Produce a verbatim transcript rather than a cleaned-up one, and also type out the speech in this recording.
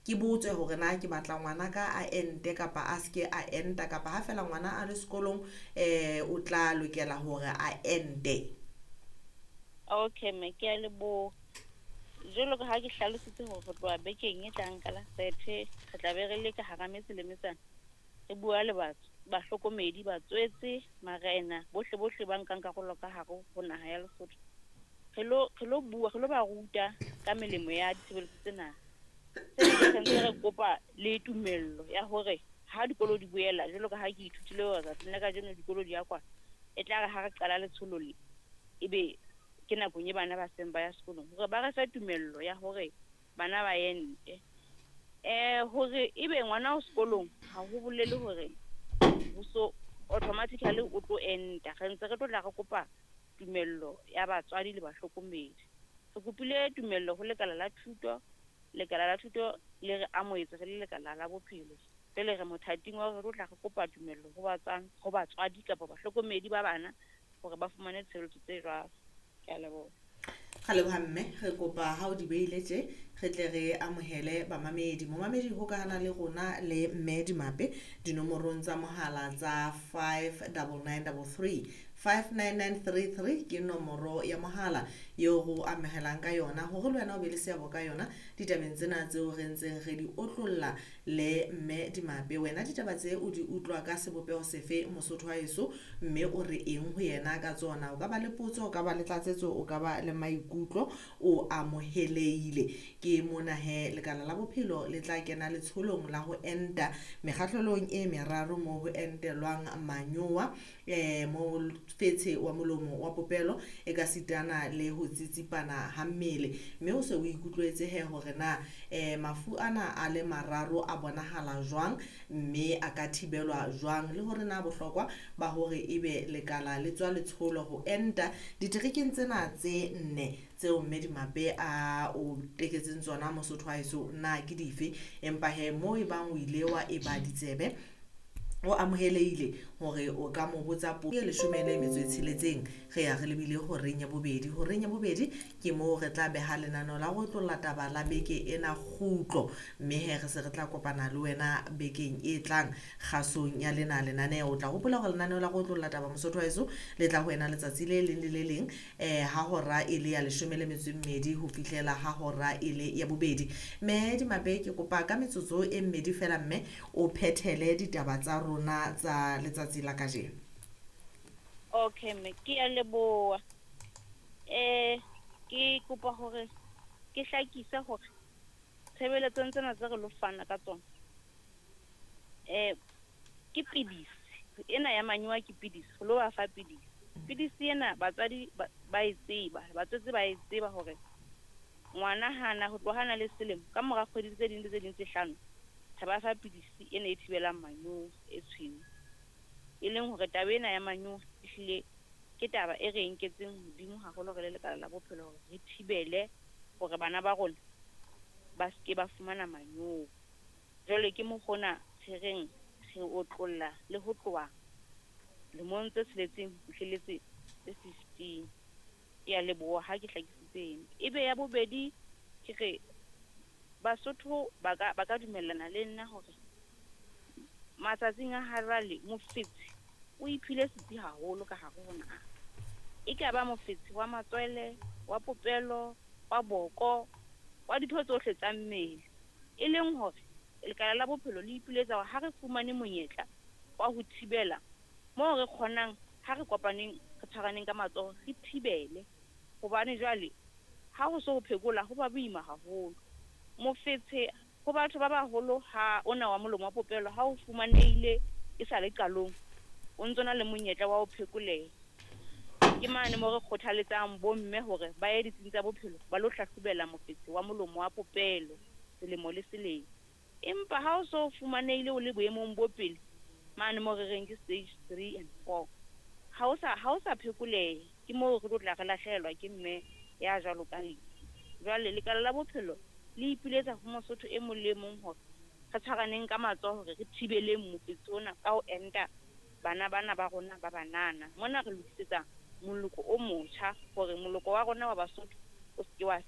Ke botse hore na ke batla ngwanaka a ente kapa a ske a enta, kapa ha fela ngwana a le sekolong eh o tla lokela hore a ente? Okay mme, ke a leboha. Jwalo ka ha ke hlalositse hore re tloha bekeng e tlang ka la thirty, re tla be re le ka hara metse le metsana, re bua le batho, bahlokomedi, batswetse, marena, bohle bohle ba nkang karolo ka hare ho naha ya Lesotho. Re lo re lo bua, re lo ba ruta ka melemo ya ditshebeletso tsena. Sena re ntse re kopa le tumello ya hore ha dikolo di boela, jwalo ka ha ke ithutile hore tsatsing la kajeno dikolo di ya kwalwa, e tla re ha re qala letsholo le, ebe ke nakong e bana ba seng ba ya sekolong, hore ba re fe tumello ya hore bana ba ente. Eh hore ebe ngwana o sekolong ha ho bolele hore ho so automatically o tlo enta. Re ntse re tlo tla re kopa tumello ya batswadi le bahlokomedi. Re kopile tumello ho lekala la thuto, lekala la thuto le re amohetse re le lekala la bophelo. Jwale re mothating wa hore re tlo tla re kopa tumello ho batswadi, ho batswadi kapa bahlokomedi ba bana hore ba fumane tshebeletso tse jwalo. Ke a leboha. Ra leboha mme, re kopa ha o di beile tje re tle re amohele bamamedi. Momamedi hokahana le rona le mme Dimape dinomorong tsa mohala tsa five double nine double three, five nine nine three three ke nomoro ya mohala eo re o amohelang ka yona hore le wena o be le seabo ka yona ditabeng tsena tseo re ntseng re di otlolla le mme Dimape. Wena ditaba tse o di utlwa ka sebopeho sefe Mosotho wa heso, mme o re eng ho yena ka tsona? O ka ba le potso, o ka ba le tlatsetso, o ka ba le maikutlo, o amohelehile. Ke mona he lekala la bophelo le tla kena letsholong la ho enta mekgahlelong e meraro moo ho entelwang manyowa, eh mo fetshe wa molomo wa popelo e ka sitana le ho tsitsipana ha mmele. Mme o se o ikutlwetse he hore na eh mafu ana a le mararo a bonahala jwang, mme a ka thibelwa jwang, le hore na bohlokwa ba hore ebe lekala le tswa letsholo ho enta diterekeng tsena tse nne tseo mme Dimape a o teketseng tsona Mosotho wa heso na ke dife. Empa he mo e bang o ile wa eba ditsebe, o amohelehile hore o ka mo botsa potso. Leshome le metso e tsheletseng re ya re lebile horeng ya bobedi. Horeng ya bobedi ke moo re tla beha lenaneo la ho otlolla taba la beke ena kgutlo, mme he re se re tla kopana le wena bekeng e tlang kgasong ya lena lenaneo. O tla hopola hore lenaneo la ho otlolla taba Mosotho wa heso le tla ho wena letsatsi le leng le le leng eh ha hora e le ya leshome le metso e mmedi ho fihlela ha hora e le ya bobedi. Mme Dimape ke kopa ka metsotso e mmedi fela mme o phethele ditaba tsa rona tsa letsatsi la kajeno. Okay mme, ke a leboha. Eh ke kopa hore ke hlakise hore tshebeletsong tsena tse re lo fana ka tsona, eh ke pidisi ena ya manyowa, ke pidisi, re lo ba fa pidisi. Pidisi ena batswadi ba, ba e tseba, batswetse ba e tseba hore ngwana hana ho tloha hana le selemo, ka mora kgwedi tse ding le tse ding tse hlano, re ba fa pidisi ena e thibelang manyowa e tshweu. E leng hore taba ena ya manyowa ehlile ke taba e re nketseng hodimo haholo re le lekala la bophelo hore re thibele hore bana ba rona ba ske ba fumana manyowa. Jwale ke mokgona re reng re otlolla le ho tloha lemong tse tsheletseng ho fihlelletse tse fifteen. Ke a leboha ha ke hlakisitse eno. Ebe ya bobedi ke re Basotho ba ka, ba ka dumellana le nna hore matsatsing a ha jwale mofetshe o iphile setsi haholo ka hare ho naha. E ka ba mofetshe wa matswele, wa popelo, wa boko, wa ditho tsohle tsa mmele. E leng hore lekala la bophelo le ipiletsa hore ha re fumane monyetla wa ho thibela moo re kgonang, ha re kopaneng, re tshwaraneng ka matsoho, re thibele. Hobane jwale ha ho so ho phekola ho ba boima haholo. Mofetshe ho batho ba baholo ha ona wa molomo wa popelo ha o fumanehile e sa le qalong, o ntso na le monyetla wa ho phekoleha. Ke mane moo re kgothaletsang bomme hore ba ye ditsing tsa bophelo ba lo hlahlobela mofetshe wa molomo wa popelo selemo le selemo. Empa ha o so fumanehile o le boemong bo pele, mane moo re reng ke stage three and four, ha o sa, ha o sa phekoleha, ke moo re tlo tla re lahlehelwa ke mme ya jwalo ka lefu. Jwale lekala la bophelo le ipiletsa ho Mosotho e mong le mong hore re tshwaraneng ka matsoho hore re thibeleng mofetshe ona ka ho enta bana bana ba rona ba banana. Mona re lokisetsa moloko o motjha hore moloko wa rona wa Basotho o seke wa